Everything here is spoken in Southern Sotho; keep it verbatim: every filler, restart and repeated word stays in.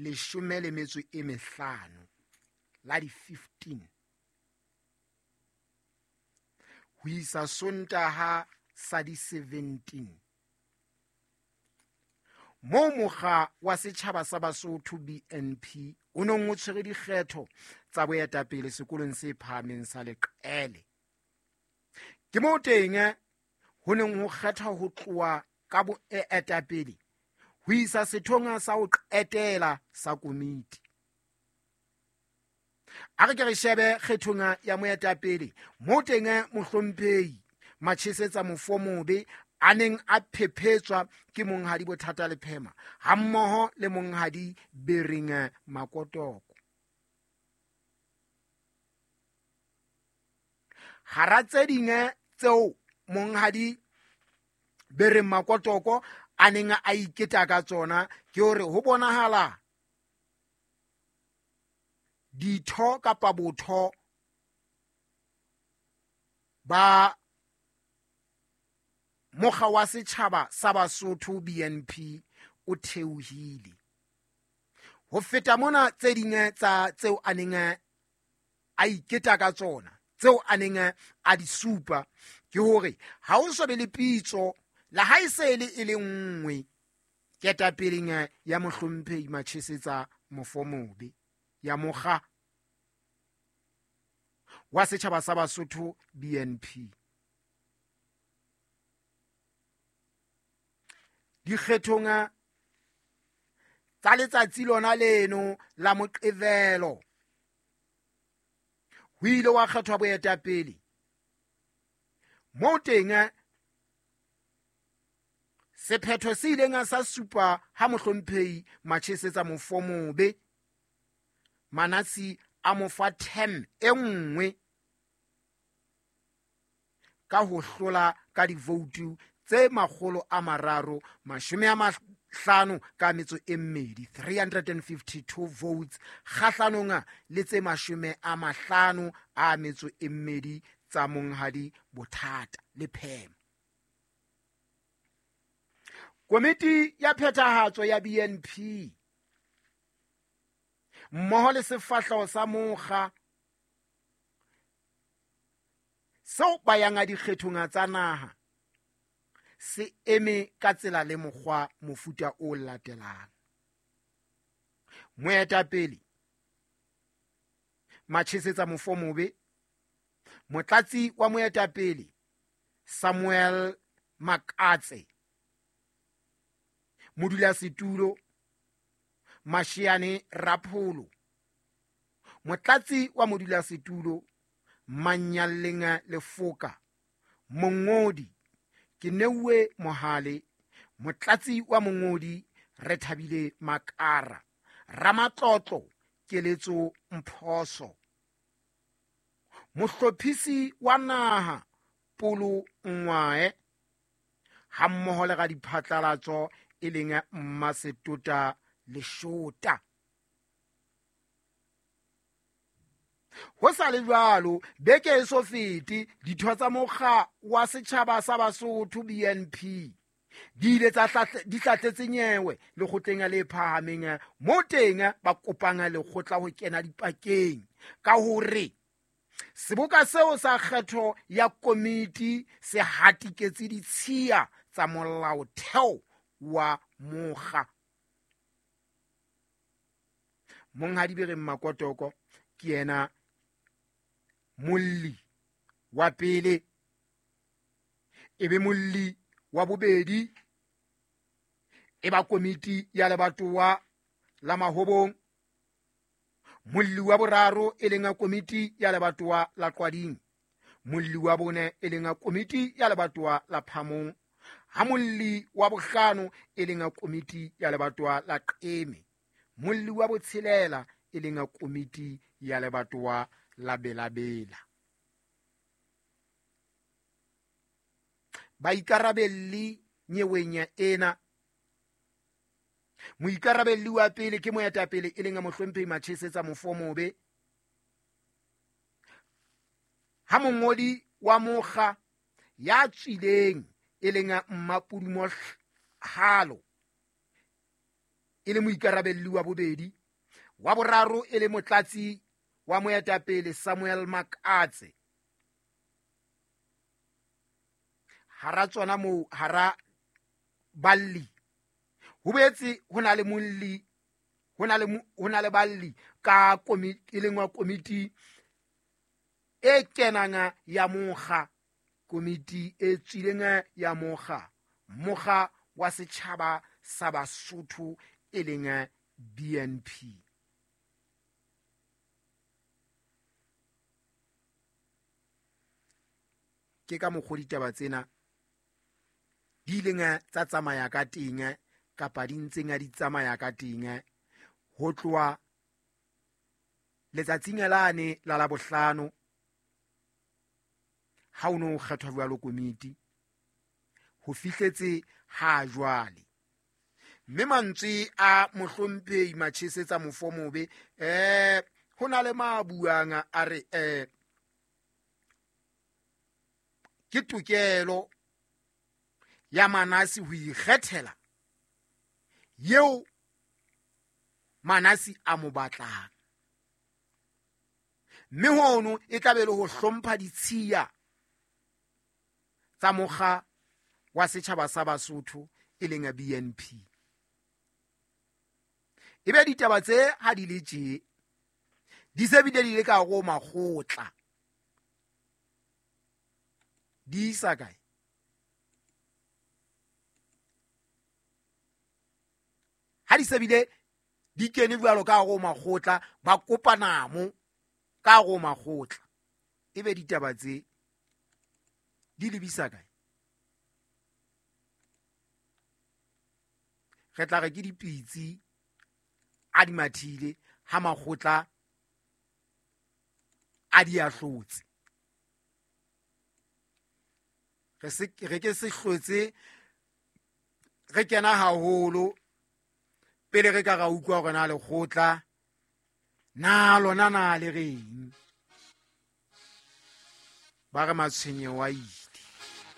leshome le metso e mehlano la di fifteen ho isa Sontaha sa di seventeen moo mokga wa setjhaba sa Basotho B N P o nong o tshwere dikgetho tsa boetapele sekolong se phahameng sa Leqele. Ke moo teng ho neng ho kgethwa ho tloha ka boetapele ho isa sethong sa ho qetela sa komiti. A re ke re shebe kgethong ya moetapele moo teng mohlomphehi Machesetsa Mofomobe a neng a phephetswa ke monghadi Bothata Lephema hammoho le monghadi Bereng Makotoko. Hara tse ding tseo monghadi Bereng Makotoko a neng a iketa ka tsona ke hore ho bonahala ditho kapa botho ba mokga wa setjhaba sa Basotho B N P o theohile. Ho feta mona tse ding tsa tseo a neng a iketa ka tsona tseo a neng a di supa ke hore ha o so be le pitso la ha e se le e le nngwe ketapeleng ya mohlomphehi Machesetsa Mofomobe ya mokga wa setjhaba sa Basotho B N P. Dikgethong tsa letsatsi lona leno la Moqebelo ho ile wa kgethwa boetapele moo teng sephetho se ileng sa supa ha mohlomphehi Machesetsa Mofomobe Manasi a mo fa term e nngwe ka ho hlola ka divoutu tse makgolo a mararo mashome a mahlano ka metso e mmedi three hundred fifty-two votes kgahlanong le tse mashome a mahlano a metso e mmedi tsa monghadi Bothata Lephema. Komiti ya phethahatso ya B N P mmoho le sefahleho sa mokga seo ba yang a dikgethong tsa naha se eme ka tsela le mokgwa mofuta o latelang. Moetapele Machesetsa Mofomobe, motlatsi wa moetapele Samuel Makatse, modulasetulo Mashiane Rapholo, motlatsi wa modulasetulo Manyaleng Lefoka, mongodi Keneuwe Mohale, motlatsi wa mongodi Rethabile Makara, ramatlotlo Keletso Mphoso, mohlophisi wa naha Polo Ngwae hammoho le radiphatlalatso e leng Mmasetota Leshota. Ho sa le jwalo, beke e so fete ditho tsa mokga wa setjhaba sa Basotho B N P di ile tsa di hlahletse nyewe lekgotleng le phahameng mo teng ba kopang lekgotla ho kena dipakeng ka hore seboka seo sa kgetho ya komiti se hatiketse ditshiya tsa molaotheo wa mokga. Monghadi Bereng Makotoko ke yena molli wa pele, ebe molli wa bobedi e ba komiti ya lebatowa la Mahobong, molli wa boraro e leng komiti ya lebatowa la Qwading, molli wa bone e leng komiti ya lebatowa la Phamong, ha molli wa bohlano e leng komiti ya lebatowa la Qeme, molli wa botshelela e leng komiti ya lebatowa la Belabela. Baikarabelli nyeweng ena, moikarabelli wa pele ke moetapele e leng mohlomphehi Machesetsa Mofomobe, ha mongodi wa mokga ya tswileng e leng Mmapudumo Halo e le moikarabelli wa bobedi, wa boraro e le motlatsi wa moetapele Samuel Makatse. Hara tsona moo hara balli ho boetse ho na le molli, ho na le ho na le balli ka komiti e leng wa komiti e kenang ya mokga, komiti e tswileng ya mokga, mokga wa setjhaba sa Basotho e leng B N P. Ke ka mokgwa ditaba tsena di ileng tsa tsamaya ka teng kapa di ntseng di tsamaya ka teng ho tloha letsatsing lane la Labohlano ha o no kgethwa jwalo komiti ho fihletse ha jwale. Mme mantswe a mohlomphehi Machesetsa Mofomobe eh ho na le ma buang a re eh ke tokelo ya Manasi ho ikgethela yeo Manasi a mo batlang, mme hono e tla be le ho hlompha ditshiya tsa mokga wa setjhaba sa Basotho e leng B N P. Ebe ditaba tse ha di le tje di se bile di le ka go makgotla di isa kae? Ha di se bile di kene jwalo ka go makgotla ba kopana mo ka go makgotla, ebe ditaba tse di lebisa kae? Re tla re ke dipitsi a di mathile ha makgotla a di ahlotse. Re se re ke se hlotse re kena haholo pele re ka ra utlwa hore na lekgotla na lona na le reng. Ba re matshwenyeho a ile.